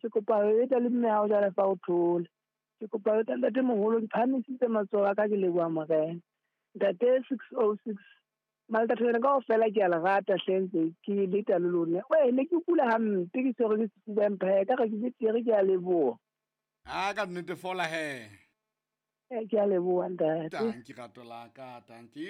Ke kopa ho eta le mme hao jwale fa o thole. Ke kopa ho eta ntate moholo, ke phahamisitse matsoho a ka, ke leboha Morena. Ntate 606 Maltatholwana kaofela ke a le rata hle, ntse ke leta le lona. Weh, ne ke kula hampe, ke tshwerwe ke sefuba, empa hee ka re ke betere, ke a leboha. A ka nnete fola he. Ke a leboha ntate. Tanki rato la ka, tanki.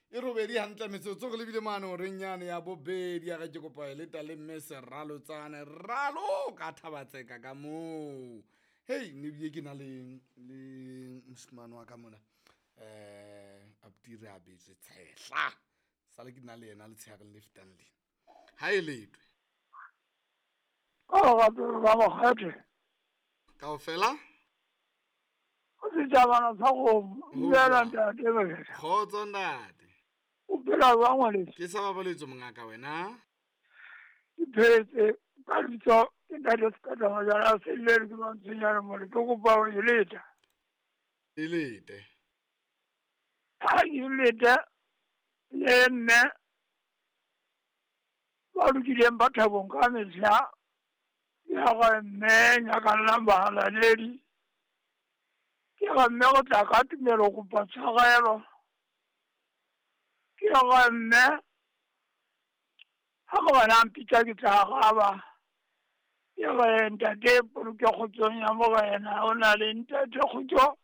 E robedi hantle metsotso re lebile mane horeng yane ya bobedi ya re ke kopa e leta le mme Seralotsane ralo ka Thabatseka ka moo. Hei, ne bile ke na le moshemane wa ka mona. Abuti re abetswe tshehla. Sale ke na le yena letshehareng le fetang lena. Ha e letwe. Ka lerato la mokgethe. Kaofela? O setjhabana sa kgomo. Dumela ntate Mokgethe. Kgotso ntate. O phela jwang ngwaneso? Ke sa babaletswe mongaka wena. Ke phetse ka lebitso ke ntate Sekata Majwala a Sellele ke Mantshwenyane mole, ke kopa ho e leta. E lete. Ha ke leta le mme ba lokileng ba thabong ka mehla, ya ga mme nyakallang bahalaledi. Ke ga mme go tla ka tumelo kopa tshwarelo. Ke ga mme ha ke bona mpitsa ke tla araba. Ke re ntate poloke kgotsong ya Morena, o na le ntate kgotso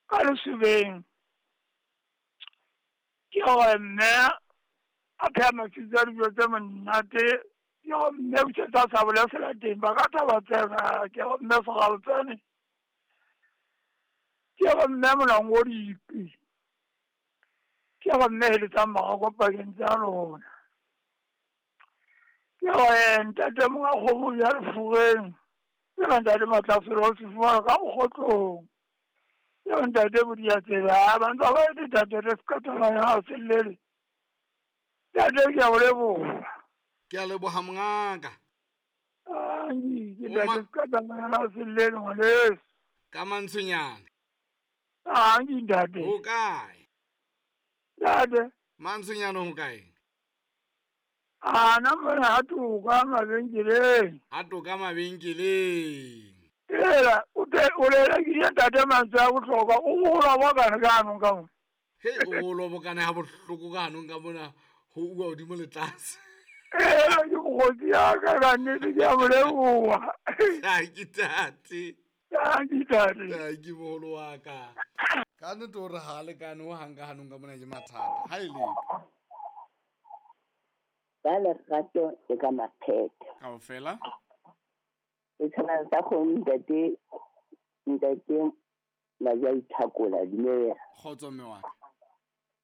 ka lesobeng. Ke re mme a pheha mafitso a dijo tse monate. Ke re mme busetsa sabole selateng ba ka thaba tsena. Ke re mme Seralotsane. Ke re mme Molango Dipi. Ke re mme heletsang marako pakeng tsa lona. Ke re ntate monga kgomo ya lefureng. Ke re ntate Matlafelo o se fumana ka mokgotlong. Ke re ntate Bodiatsela, ba ntse ba ete ntate re Sekatana ya Sellele. Ntate ke a o leboha. Ke a leboha mongaka. Ai, ke ntate Sekatana ya Sellele ngwaneso. Ka Mantshwenyane. Ai, ntate. Ho kae? Ntate. Mantshwenyane ho kae? A na mona ha toka mabenkeleng. Ha toka mabenkeleng. Ela, o te o le rekile ntate mantswe a bohlokwa, o gola bokane ka hanong ka mona. Hei, o gola bokane ha bohloko ka hanong ka mona, ho uwa hodimo le tlase. Ela, ke mokgotsi ya ka, ka nnete ke a mo leboha. Tanki tate. Tanki tate. Tanki moholo wa ka. Ka nnete hore ha lekane ho hang ka hanong ka mona ke mathata. Ha e le. Ba lerato le ka makgethe. Kaofela? E tshwana sa kgomo ntate, ntate Maja Ithakola, dumela. Kgotso mme wa ka.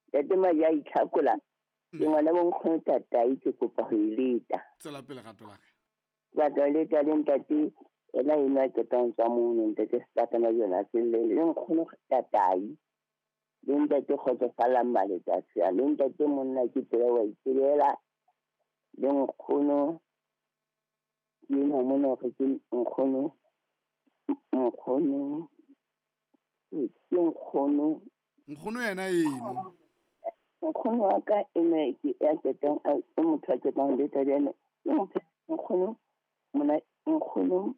Ntate Maja Ithakola, ke ngwana bo nkgono tatai, ke kopa ho e leta. Tswela pele rato la ka. Batla leta le ntate ena ena qetang tswa mono, ntate Sekatana jona Sellele, le nkgono tatai, le ntate Kgotsofalang Maletsatsi, le ntate monna ke tsela wa itsebela, le nkgono ke ena mona hore ke nkgono, nkgono, ke nkgono. Nkgono yena eno. Nkgono wa ka ena ke ya qetang, e motho a qetang leta le ena. Ke motho, nkgono, mona, nkgono,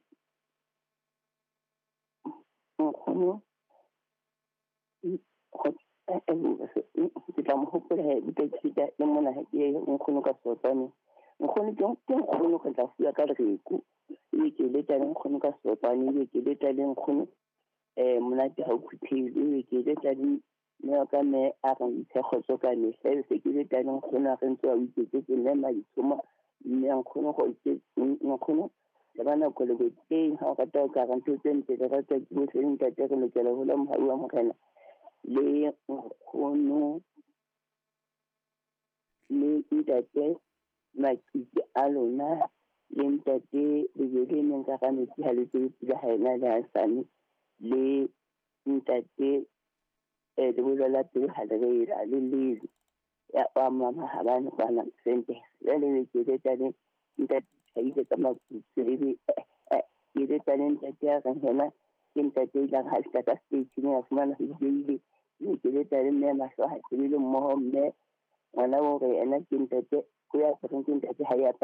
nkgono, ke tla mo hopola he, ke tla le mona he, ke nkgono ka Sotwane. Nkgono ke nkgono ka tla fuwa ka lereko. Ebe ke leta le nkgono ka Sotwane, ebe ke leta le nkgono, monate ha o phuthehile, ebe ke leta le mme wa ka mme a re ntshe kgotso ka mehla, ebe se ke leta le nkgono a re ntse a o iketsetse mme Maditshomo, mme nkgono go nkgono le ba nako le boteng ha o rata o ka re ntho tse ntle le rata ke bohle le ntate re lokela ho la mohau wa Morena le nkgono le ntate Makitse a lona le ntate lejwe le neng ka ga metsi ha le tsebe pula ha ena le hasane le ntate lebollo la pelo ha le re la le lele ya wa mama ha ba ne kwana sente jwale le ke leta le ntate Thaile ka Maputse ebe ke leta le ntate ya reng hona ke ntate e ileng ha fihla ka stage a fumana ho ile ke leta le mme mahlo ha tsebile mmoho mme ngwana o re ena ke ntate ko ya reng ke ntate ha ya apara.